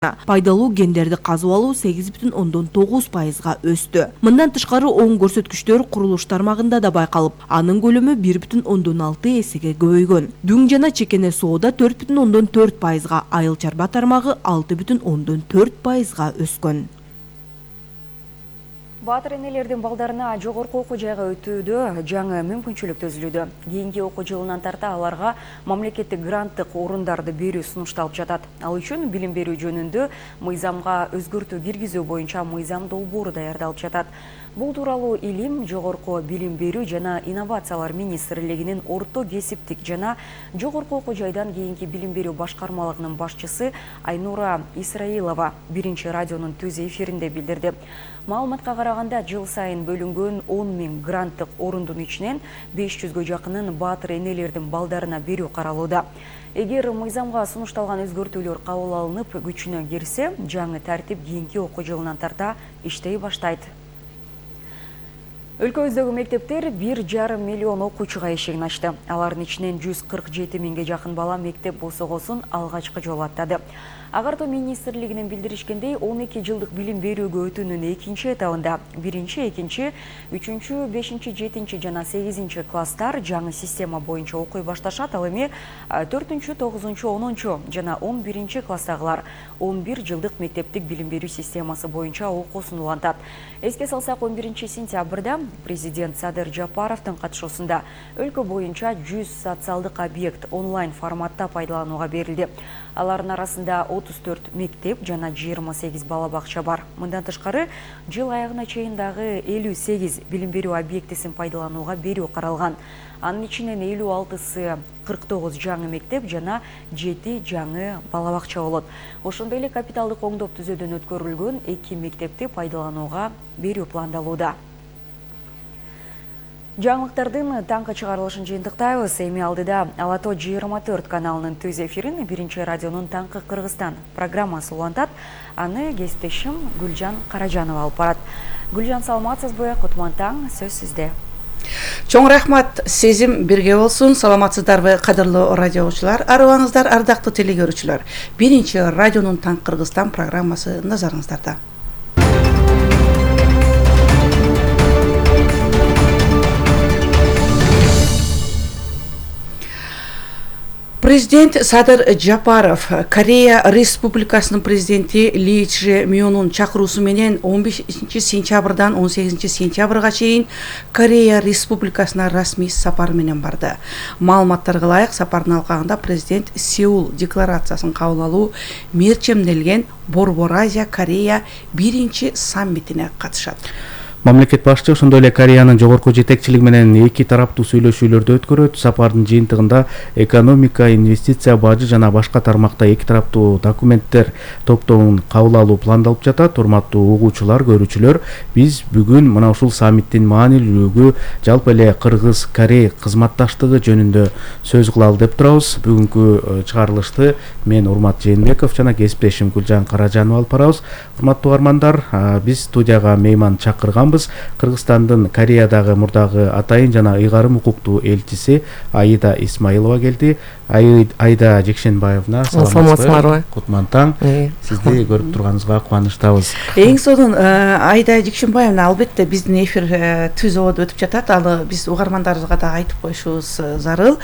пайдалуу гендерди казып алуу 8,9%га өстү. Мындан тышкары оң көрсөткүчтөр курулуш тармагында да байкалып, анын көлөмү 1,6 эсеге көбөйгөн. Дүң жана чекене соода 4,4%га, айыл чарба тармагы 6,4%га өскөн. Баатыр энелердин балдарына жогорку окуу жайга өтүүдө жаңы мүмкүнчүлүк түзүлүүдө. Кийинки окуу жылынан тарта аларга мамлекеттик гранттык орундарды берүү сунушталып жатат. Ал үчүн билим берүү жөнүндө мыйзамга өзгөртүү киргизүү боюнча мыйзам долбоору даярдалып жатат. Бул тууралуу Илим, жогорку билим берүү жана инновациялар министрлигинин орто кесиптик жана жогорку окуу жайдан кийинки билим берүү башкармалыгынын башчысы Айнура Исраилова биринчи радионун түз эфиринде билдирди. Маалыматка караганда, жыл сайын бөлүнгөн 10 000 гранттык орундун ичинен 500гө жакынын баатыр энелердин балдарына берүү каралууда. Эгер мыйзамга сунушталган өзгөртүүлөр кабыл алынып күчүнө кирсе, жаңы тартип кийинки окуу жылынан тарта иштей баштайт. Өлкөбүздөгү мектептер 1,5 миллион окуучуга эшигин ачты. Алардын ичинен 147 миңге жакын бала мектеп босогосун алгачкы жолу аттады. Агартуу министрлигинин билдиришкендей, 12 жылдык билим берүүгө өтүүнүн экинчи этабында 1-2, 3, 5, 7 жана 8 класстар жаңы система боюнча окуй башташат. Ал эми 4, 9, 10 жана 11 класстагылар 11 жылдык мектептик билим берүү системасы боюнча окуусун улантат. Эске салсак, 11 сентябрда президент Садыр Жапаровдун катышуусунда өлкө боюнча 100 социалдык объект онлайн форматта пайдаланууга берилди. Алардын арасында 34 мектеп жана 28 бала бакча бар. Мындан тышкары, жыл аягына чейин дагы 58 билим берүү объектисин пайдаланууга берүү каралган. Анын ичинен 56сы 49 жаңы мектеп жана 7 жаңы бала бакча болот. Ошондой эле капиталдык оңдоп түзөөдөн өткөрүлгөн 2 мектепти пайдаланууга берүү пландалууда. Жаңылыктардын таңкы чыгарылышын жыйынтыктайбыз. Эми алдыда Алато 24 каналынын түз эфирин биринчи радионун Таңкы Кыргызстан программасы улантат. Аны кесиптешим Гүлжан Каражанова алып барат. Гүлжан, саламатсызбы? Кутман таң, сөз сизде. Чоң рахмат, сезим бирге болсун. Саламатсыздарбы, кадырлуу радио угуучулар, арыбаңыздар, ардактуу телегөрүүчүлөр. Биринчи радионун Таңкы Кыргызстан программасы назарыңыздарда. Президент Садыр Жапаров Корея Республикасынын президенти Ли Чже Мёнун чакыруусу менен 15 сентябрдан 18 сентябрга чейин Корея Республикасына расмий сапар менен барды. Маалыматтарга ылайык, сапардын алкагында президент Сеул декларациясын кабыл алуу мерчемделген Борбор Азия Корея биринчи саммитине катышат. Мамлекет башчы ошондой эле Кореянын жогорку жетекчилиги менен эки тараптуу сүйлөшүүлөрдү өткөрөт. Сапардын жыйынтыгында экономика, инвестиция, бажы жана башка тармакта эки тараптуу документтер топтомун кабыл алуу пландалып жатат. Урматтуу угуучулар, көрүүчүлөр, биз бүгүн мына ушул саммиттин маанилүүлүгү, жалпы эле Кыргыз-Корей кызматташтыгы жөнүндө сөз кылалы деп турабыз. Бүгүнкү чыгарылышты мен Урмат Жээнбеков жана кесиптешим Гүлжан Каражанова алып барабыз. Урматтуу угармандар, биз студияга мейман чакырган. Кыргызстандын Кореядагы мурдагы атайын жана ыйгарым укуктуу элчиси Аида Исмаилова келди. Аида Жекшенбаевна, саламатсызбы? Кутман таң. Сизди көрүп турганыбызга кубанычтабыз. Эң сонун Аида Жекшенбаевна, албетте биздин эфир түз ободо өтүп жатат. Аны биз угармандарыбызга да айтып коюшубуз зарыл.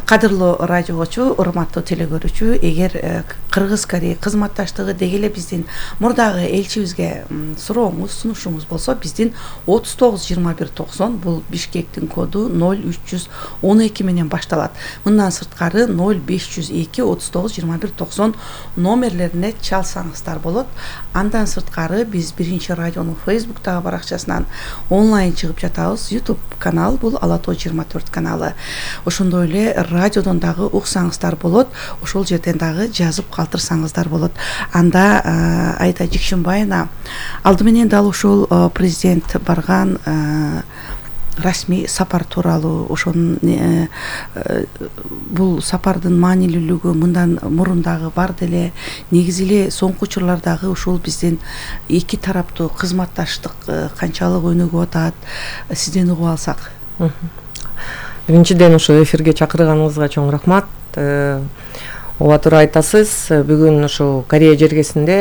Кадырлуу радио угуучу, урматтуу телегөрүүчү, эгер Кыргыз-Корей кызматташтыгы деги эле биздин мурдагы элчибизге сурооңуз, сунушуңуз болсо, биздин 39-21-90 бул Бишкектин коду 0312 менен башталат. Мындан сырткары 0502-39-21-90 номерлерине чалсаңыздар болот. Андан сырткары биз биринчи радионун Facebook'тагы баракчасынан онлайн чыгып жатабыз. YouTube канал бул Алато 24 каналы. Ошондой эле радиодон дагы уксаңыздар болот. Ошол жерден дагы жазып калтырсаңыздар болот. Анда Аида Жекшенбаевна, алды менен дал ушул президент барган расмий сапар тууралуу, ошонун бул сапардын маанилүүлүгү мындан мурун дагы бар деле, негизи эле соңку учурлардагы ушул биздин эки тараптуу кызматташтык канчалык өнүгүп атат, сизден угуп алсак. Биринчиден ушул эфирге чакырганыңызга чоң рахмат. ооба туура айтасыз. Бүгүн ушул Корея жергесинде